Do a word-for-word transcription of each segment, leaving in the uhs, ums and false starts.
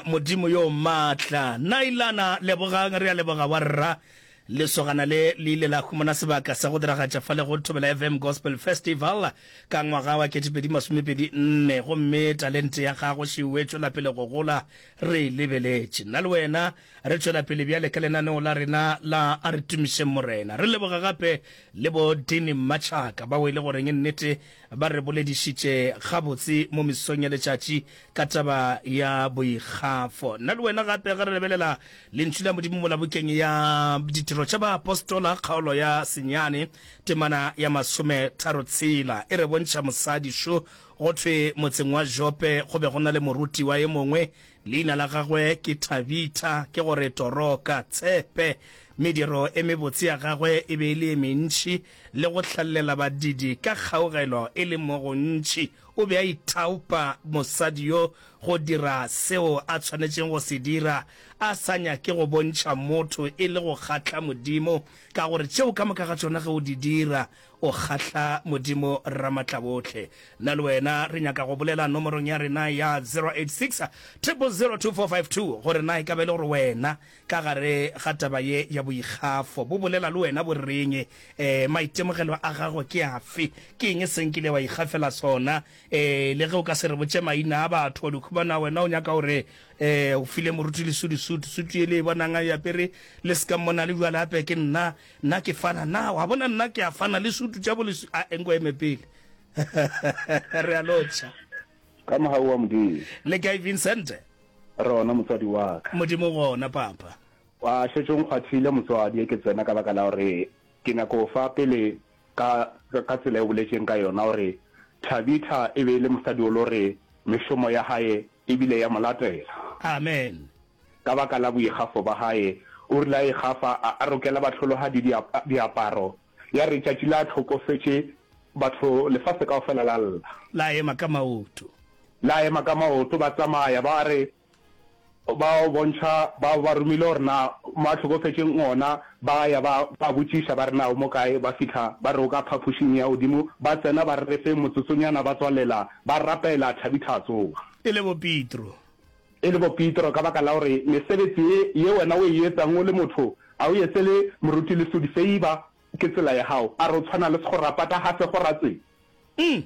Modimo yo maatla. Nailana, Lebogang, re a leboga wa rra. Lesogana le le ile la humana sebaka sa go diragatša fa le go Thobela F M Gospel Festival ka ngwaga wa ketepedi masomepedi nne, gomme talente ya gago šeo e tšwela pele go gola, re e lebeletše. Nna le wena re tšwela pele bjale ka lenaneo la rena la A Re Tumišeng Morena. Re leboga gape le bo Dini Mmatšhaka bao e le goreng nnete ba re boledišitše gabotse mo mesong ya letšatši ka taba ya boikgafo. Nna le wena gape ge re lebelela Lentšu la Modimo mola bukeng ya Ditiro tša Baapostola kgaolo ya senyane temana ya masometharo-tshela e re bontšha mosadi šo. Go thwe motseng wa Jope go be go na le morutiwa e mongwe, leina la gagwe ke Tabitha, ke gore Toroka, tshepe. Mediro e mebotse ya gagwe e be e le e mentši, le go hlallela badidi ka kgaugelo e le mo gontši. O be a ithaopa mosadi yo go dira seo a tshwanetšeng go se dira, a sa nyake go bontšha motho e le go kgahla Modimo, ka gore tšeo ka moka ga tšona ge o di dira, o kgahla Modimo Ramatlabohle. Nna le wena re nyaka go bolela nomorong ya rena ya zero eight six, triple zero two four five two gore na e ka ba e le gore wena ka gare ga taba ye ya boikgafo bo bolela le wena bo reng, um maitemogelo a gago ke afe, ke eng se nkile wa ikgafela sona, um le ge o ka se re botše maina a batho, wa di khumana wena o nyaka gore um o file moruti Lesudi sutu, sutu ye le e bonang a e apere le se ka mmona le bjale gape ke nna, nna ke fana, na wa bona nna ke a fana le sutu tša bo Lesudi, a enko eme pele. Re a lotšha. Ka mogau wa Modimo. Le kae Vincent? Re gona motswadi wa ka. Modimo gona papa. Wa šetše o nkgwathile motswadi e ke tsena ka baka la gore ke nyako o fa pele ka ka tsela e o boletšeng ka yona gore Thabitha e be e le mosadi o le gore mešomo ya hae e bile ya mo latela. Amen. Ka baka la boikgafo ba hae o rile a ikgafa a a rokela bahlolohadi diaparo ya re tšatši la hlokofetše batho lefase kaofela la lla. La ema ka maoto. La ema ka maoto ba tsamaya ba re ba o bontšha ba ba romile gore na mo a hlokofetšeng gona, ba ya ba ba botšiša ba re na o mo kae, ba fihla ba re o ka phapošing ya godimo, ba tsena ba re re feng motsotsonyana ba tswalela ba rapela Thabitha a tsoga. E le bo Petro. E le bo Petro ka baka la gore mesebetsi ye ye wena o e etsang o le motho a o etsele moruti Lesodi feiba ke tsela ya gago, a re o tshwana le sekgorapata ga se go ra tsela. Mm.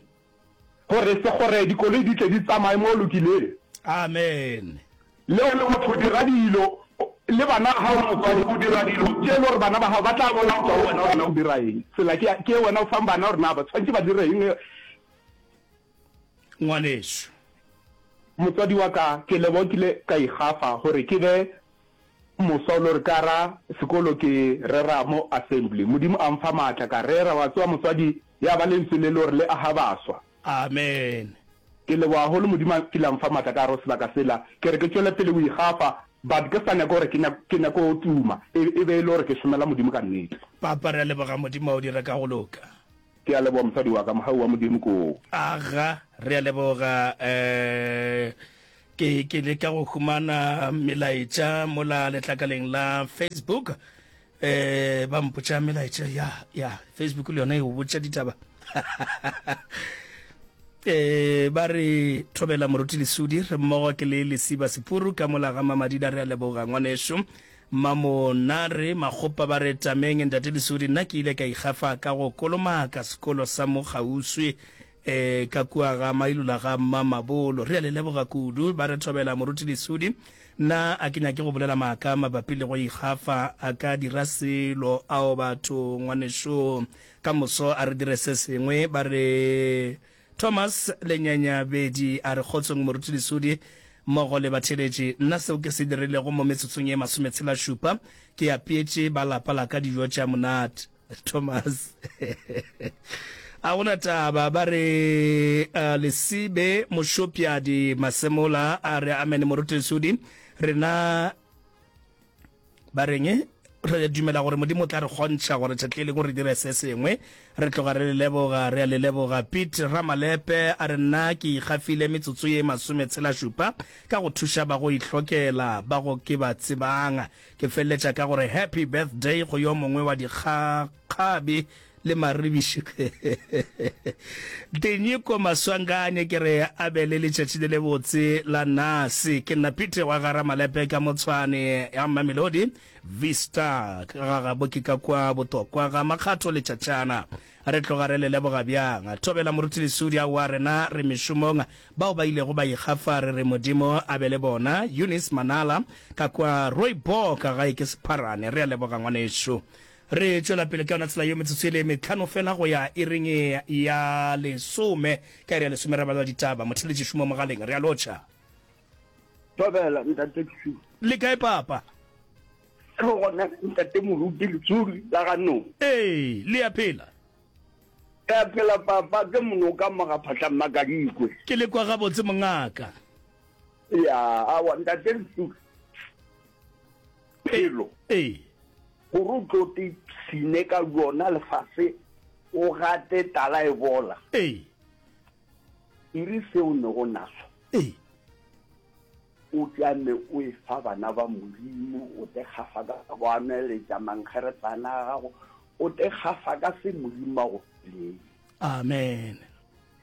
Gore se gore dikoloi di tle di tsamaye mo o lokileng. Amen. Le o le motho o dira dilo le bana ba gago motswadi o dira dilo tše e le gore bana ba gago ba tla bona go tšwa go wena gore na o dira eng. Tsela ke ke ye wena o fang bana gore na ba tshwanetše ba dire eng. Ngwanešu. Motswadi wa ka, ke leboga kile ka ikgafa gore ke be moswa o le gore ka ra sekolo ke rera mo assembly. Modimo a mfa maatla ka rera, wa tseba motswadi ya ba lentswe le le gore le aga baswa. Amen. Ke leboga haholo Modimo a kile a mfa maatla ka gare go sebaka sela. Ke re ke tšwele pele go ikgafa but ke sa nyake gore ke ke nyake go tuma e e be e le gore ke šomela Modimo ka nnete. Papa re a leboga Modimo a o dire ka go loka. Ke a leboga mosadi wa ka, mogau wa Modimo ke wo. Aga, re a leboga. Eh, ke, ke leka go humana melaetša mola letlakaleng la Facebook. Eh, ba mpotša melaetša ya, ya, Facebook le yona e go botša ditaba. Eh, ba re thobela moruti Lesudi, re mmogo ke le Lesiba Sepuru ka mola ga Mamadida, re a leboga ngwanešu. Mamonare Makgopa ba re tameng ntate Lesodi, nna ke ile ka ikgafa ka go kolomaka sekolo sa mo kgauswi e ka kua ga Mailula ga Mmamabolo. Re a le leboga kudu. Ba re thobela moruti Lesodi, nna a ke nyake go bolela maaka mabapi le go ikgafa, a ka dira selo ao batho ngwanešo ka moso a re dire se sengwe. Ba re Thomas Lenyanyabedi a re, Kgotsong Moruti Lesodi mmogo le batheeletši. Nna seo ke se dirilego mo metsotsong ye masometshela-šupa, ke apeetše ba lapa la ka dijo tša monate. Thomas A go na taba. Ba re, Lesibe Mošopjadi Masemola a re, Amene Moruti Lesodi, rena Ba reng? Re dumela gore Modimo o tla re kgontšha gore tšatši le lengwe re dire se sengwe. Re tloga re le leboga, re a le leboga. Pete Ramalepe a re, Nna ke ikgafile metsotso ye masometshela-šupa ka go thuša ba go ihlokela ba go ke ba tsebang. Ke feleletša ka gore Happy Birthday go yo mongwe wa dikgakgabi Le maribiši. Tinyiko Maswanganye ke re a be le letšatši le lebotse la nase. Ke nna Peter wa ga Ramalepe ka mo Tshwane ya Mamelodi Vista ga gabo ke ka kwa Botokwa ga Makgatho Letšatšana. Re tloga re le leboga bjang. Thobela Moruti Lesudi aowa rena re mešomong bao ba ilego ba ikgafa re re Modimo a be le bona. Eunice Manala ka kwa Rooibok gae ke Sepharane. Re a leboga ngwanešu. Re tšwela pele ka yona tsela yeo metsotso e le metlhano fela go ya iring ya lesome. Ka iri ya lesome re bala ditaba. Motheeletši šomo mogaleng. Re a lotšha. Thobela, Ntate Letsuli. Le kae papa? Re gona Ntate Moruti Letsuli la ga Nong. Ee, le a phela? Re a phela papa, ke monoka mo ga Phatla Mmakadikwe. Ke le kwa gabotse mongaka. Ya, awa Ntate Letsuli. Phelo. Ee. Gore o tlo te pshine ka yona lefase o gate tala e bola. Ee. E re se o nego naso. Ee. O tšame o e fa bana ba Modimo, o te gafa ka go ameletša mankgeretlana a gago, o te gafa ka se Modimo a go filego. Amen.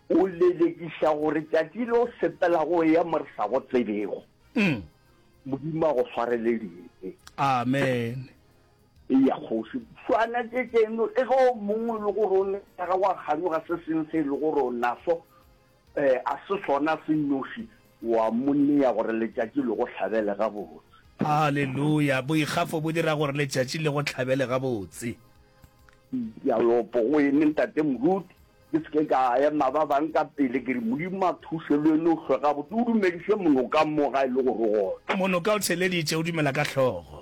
O lelekiša gore tšatši le o sepelago o eya mo re sa go tsebego. Mm. Modimo a go swarele dibe. Amen. Eya, kgoši. Swana tše tšeno, le ge o mongwe e le gore o ne ya gago a kganyoga se sengwe se e le gore o naso, eh, a se sona se nnoši, wa mo nea gore letšatši le go hlabele gabotse. Haleluya! Boikgafo bo dira gore letšatši le go hlabele gabotse. Ke a lopo go ene, Ntate Moruti. Ke se ke ka ema ba bang ka pele, ke re, Modimo a thuše le wene o hlwe gabotse, o dumediše Monoka mo ga e le gore o gona. Monoka o theleditše, o dumela ka hlogo.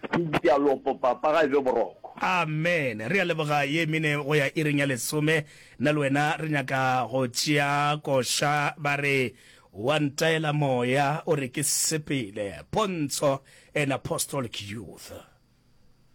Ke a lopo, Papa, ga e be boroko. Amen. Re a leboga ye mene go ya iring ya lesome. Nna le wena re nyaka go tšea koša ba re, Wa ntaela moya o re ke sepele. Pontsho and Apostolic Youth.